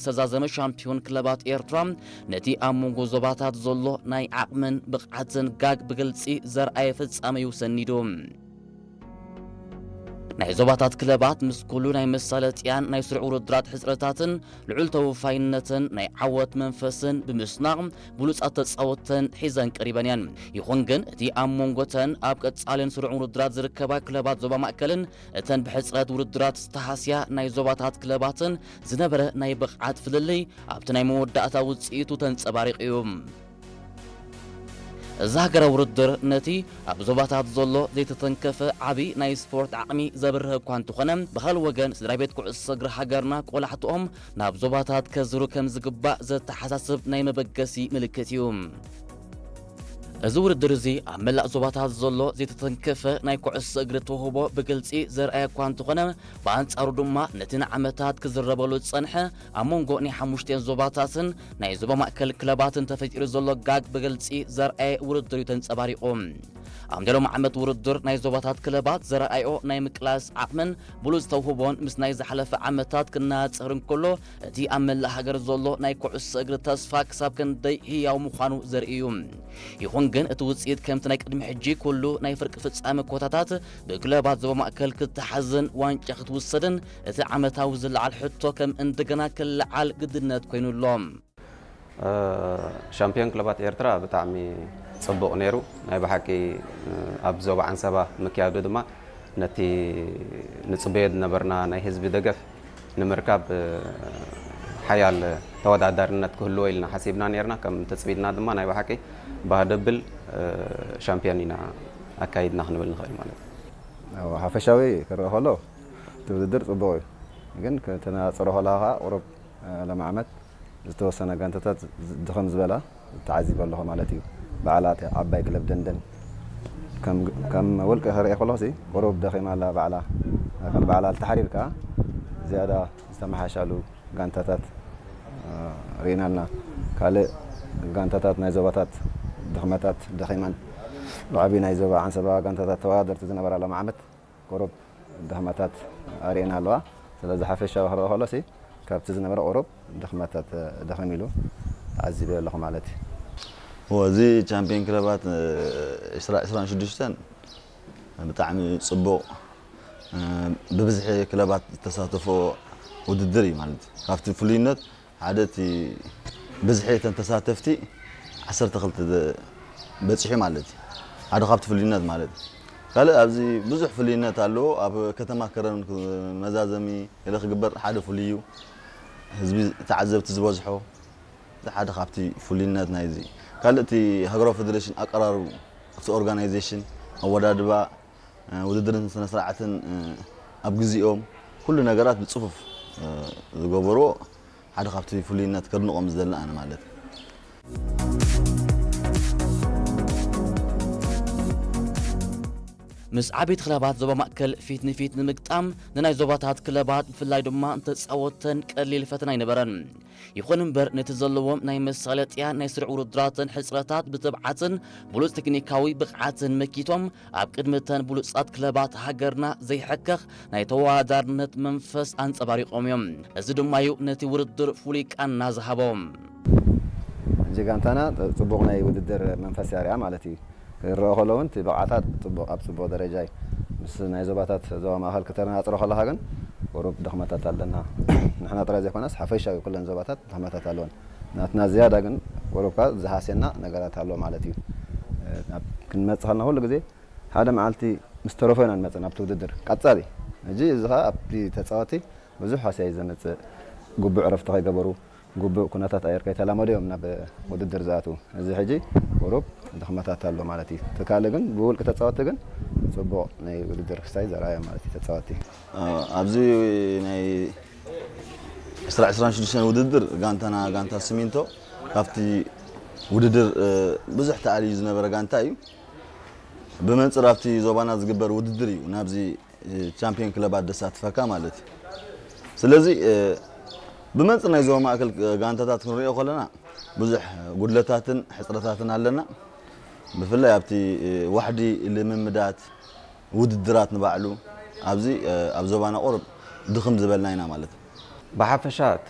ዝተዛዘመ ሻምፒዮን ክለባት ኤርትራ ነቲ ኣብ መንጎ ዞባታት ዘሎ ናይ ዓቕምን ብቕዓትን ጋግ ብግልጺ ዘርኣየ ፍጻመ እዩ ሰኒዱ። ናይ ዞባታት ክለባት ምስ ኩሉ ናይ መሳለጥያን ናይ ስሩዕ ውድድራት ሕጽረታትን ልዑል ተወፋይነትን ናይ ዓወት መንፈስን ብምስናቕ ብሉጻት ተጻወተን ሒዘን ቀሪበን እየን። ይኹን ግን እቲ ኣብ መንጎተን ኣብ ቀጻልን ስሩዕ ውድድራት ዝርከባ ክለባት ዞባ ማእከልን እተን ብሕጽረት ውድድራት ዝተሃስያ ናይ ዞባታት ክለባትን ዝነበረ ናይ ብቕዓት ፍልልይ ኣብቲ ናይ መወዳእታ ውጽኢቱ ተንጸባሪቑ እዩ። እዚ ሃገራዊ ውድድር ነቲ ኣብ ዞባታት ዘሎ ዘይተተንከፈ ዓቢ ናይ ስፖርት ዓቕሚ ዘብርህ እኳ እንተኾነ፣ ብኻልእ ወገን ስድራ ቤት ኩዕሶ እግሪ ሃገርና ቆላሕትኦም ናብ ዞባታት ከዝሩ ከም ዝግባእ ዘተሓሳስብ ናይ መበገሲ ምልክት እዩ። እዚ ውድድር እዚ ኣብ መላእ ዞባታት ዘሎ ዘይተተንከፈ ናይ ኩዕሶ እግሪ ተውህቦ ብግልጺ ዘርኣየ እኳ እንተኾነ፣ ብኣንጻሩ ድማ ነቲ ንዓመታት ክዝረበሉ ዝጸንሐ ኣብ መንጎ ናይ ሓሙሽተን ዞባታትን ናይ ዞባ ማእከል ክለባትን ተፈጢሩ ዘሎ ጋግ ብግልጺ ዘርኣየ ውድድር እዩ ተንጸባሪቑ። ኣብ ናይ ሎሚ ዓመት ውድድር ናይ ዞባታት ክለባት ዘረኣዮ ናይ ምቅላስ ዓቕምን ብሉጽ ተውህቦን ምስ ናይ ዝሓለፈ ዓመታት ክነጻጸር እንከሎ፣ እቲ ኣብ መላእ ሃገር ዘሎ ናይ ኩዕሶ እግሪ ተስፋ ክሳብ ክንደይ ህያው ምዃኑ ዘርኢ እዩ። ይኹን ግን እቲ ውጽኢት ከምቲ ናይ ቅድሚ ሕጂ ኩሉ ናይ ፍርቂ ፍጻመ ኮታታት ብክለባት ዞባ ማእከል ክትሓዝን ዋንጫ ክትውሰድን እቲ ዓመታዊ ዝለዓል ሕቶ ከም እንደገና ክለዓል ግድነት ኮይኑ ኣሎ። እ፣ ሻምፒዮን ክለባት ኤርትራ ብጣዕሚ ጽቡቕ ነይሩ። ናይ ብሓቂ፣ እ፣ ኣብ ዞባ ዓንሰባ ምክያዱ ድማ ነቲ ንጽበዮ ዝነበርና ናይ ህዝቢ ደገፍ ንምርካብ፣ እ፣ ሓያል ተወዳዳርነት ክህልዎ ኢልና ሓሲብና ነይርና። ከም ትጽቢትና ድማ ናይ ብሓቂ ባህ ደብል፣ እ፣ ሻምፒዮን ኢና ኣካይድና ክንብል ንኽእል ማለት እዩ። ኣብ ሓፈሻዊ ክረአ ከሎ እቲ ውድድር ጽቡቕ እዩ። ግን ከተነጻጽሮ ከለኻ ቁሩብ፣ እ፣ ሎም ዓመት ዝተወሰነ ጋንታታት ዝ-፣ ድኽም ዝበላ ተዓዚበ ኣለኹ ማለት እዩ። ባዕላ እታ ዓባይ ክለብ ደንደን ከም፣ ከም ውልቂ ክርኢ ከለኹሲ ቁሩብ ደኺማ ኣላ ባዕላ። ከም ባዕላ ተሓሪርካ ዝያዳ ዝተመሓሻሉ ጋንታታት፣ እ፣ ርኢና ኣለና። ካልእ ጋንታታት ናይ ዞባታት ድኽመታት ደኺመን። ብዓቢ ናይ ዞባ ዓንሰባ ጋንታታት ተወዳደርቲ ዝነበራ ሎም ዓመት ቁሩብ ድኽመታት ኣርእየን ኣለዋ። ስለዚ ሓፈሻዊ ክረአ ከሎሲ ካብቲ ዝነበረ ቁሩብ ድኽመታት ደኸም ኢሉ ተዓዚበ ኣለኹ ማለት እዩ። እወ፣ እዚ ቻምፒዮን ክለባት፣ እ፣ ዕስራ ዕስራን ሽዱሽተን ብጣዕሚ ጽቡቕ፣ እ፣ ብብዝሒ ክለባት ዝተሳተፎ ውድድር እዩ ማለት እዩ። ካብቲ ፍሉይነት ሓደ እቲ ብዝሒ እተን ተሳተፍቲ ዓሰርተ ክልተ ደ-፣ በጺሑ ማለት እዩ። ሓደ ካብቲ ፍሉይነት ማለት እዩ። ካልእ ኣብዚ ብዙሕ ፍሉይነት ኣለዎ። ኣብ ከተማ ከረን ክ-፣ መዛዘሚ ገለ ክግበር ሓደ ፍሉይ እዩ። ህዝቢ ተዓዘብቲ ዝበዝሖ ሓደ ካብቲ ፍሉይነት ናይዚ። ካልእ እቲ ሃገራዊ ፌደሬሽን ኣቀራርቡ፣ እቲ ኦርጋናይዜሽን፣ ኣወዳድባ፣ እ፣ ውድድርን ስነ ስርዓትን፣ እ፣ ኣብ ግዜኦም ኩሉ ነገራት ብጽፉፍ፣ እ፣ ዝገበርዎ ሓደ ካብቲ ፍሉይነት ከድንቖም ዝደሊ ኣነ ማለት እዩ። ምስ ዓበይቲ ክለባት ዞባ ማእከል ፊት ንፊት ንምግጣም ንናይ ዞባታት ክለባት ብፍላይ ድማ ንተጻወተን ቀሊል ፈተና ኣይነበረን። ይኹን እምበር ነቲ ዘለዎም ናይ መሳለጥያ ናይ ስሩዕ ውድድራትን ሕጽረታት ብትብዓትን ብሉጽ ቴክኒካዊ ብቕዓትን መኪቶም ኣብ ቅድሚ እተን ብሉጻት ክለባት ሃገርና ዘይሕከኽ ናይ ተወዳዳርነት መንፈስ ኣንጸባሪቖም እዮም። እዚ ድማ እዩ ነቲ ውድድር ፍሉይ ቃና ዝሃቦ። ሕጂ ጋንታና ጽቡቕ ናይ ውድድር መንፈስ የርእያ ማለት እዩ። ክረአ ከሎ እውን እቲ ብቕዓታት ጽቡቕ፣ ኣብ ጽቡቕ ደረጃ እዩ። ምስ ናይ ዞባታት ዞባ ማእከል ክተነጻጽሮ ከለኻ ግን ቁሩብ ድኽመታት ኣለና። ንሕና ጥራይ ዘይኮነስ ሓፈሻዊ ኩለን ዞባታት ድኽመታት ኣለወን። ናትና ዝያዳ ግን ቁሩብ ከኣ ዝሃስየና ነገራት ኣሎ ማለት እዩ። ናብ ክንመጽእ ከለና ኩሉ ግዜ ሓደ መዓልቲ ምስ ተረፎ ኢና ንመጽእ ናብቲ ውድድር ቀጻሊ። ሕጂ እዚ ከኣ ኣብቲ ተጻወቲ ብዙሕ ሃስያ እዩ ዘምጽእ። ግቡእ ዕረፍቲ ከይገበሩ፣ ግቡእ ኩነታት ኣየር ከይተላመዱ እዮም ናብ ውድድር ዝኣትዉ። እዚ ሕጂ ቁሩብ ድኽመታት ኣሎ ማለት እዩ። እቲ ካልእ ግን ብውልቂ ተጻወቲ ግን ጽቡቕ ናይ ውድድር ክስታይ ዘርኣዮም ማለት እዩ ተጻወቲ። እ፣ ኣብዚ ናይ ዕስራ ዕስራን ሽዱሽተን ውድድር ጋንታና ጋንታ ሲሚንቶ ካብቲ ውድድር፣ እ፣ ብዙሕ ተኣልዩ ዝነበረ ጋንታ እዩ። ብመንጽር ኣብቲ ዞባና ዝግበር ውድድር እዩ ናብዚ ቻምፒዮን ክለባት ደሳትፈካ ማለት እዩ። ስለዚ፣ እ፣ ብመንጽር ናይ ዞባ ማእከል ጋንታታት ክንሪኦ ከለና ብዙሕ ጉድለታትን ሕጽረታትን ኣለና። ብፍላይ ኣብቲ፣ እ፣ ዋሕዲ ልምምዳት ውድድራት ንባዕሉ ኣብዚ፣ እ፣ ኣብ ዞባና ቁሩብ ድኽም ዝበልና ኢና ማለት እዩ። ብሓፈሻ እቲ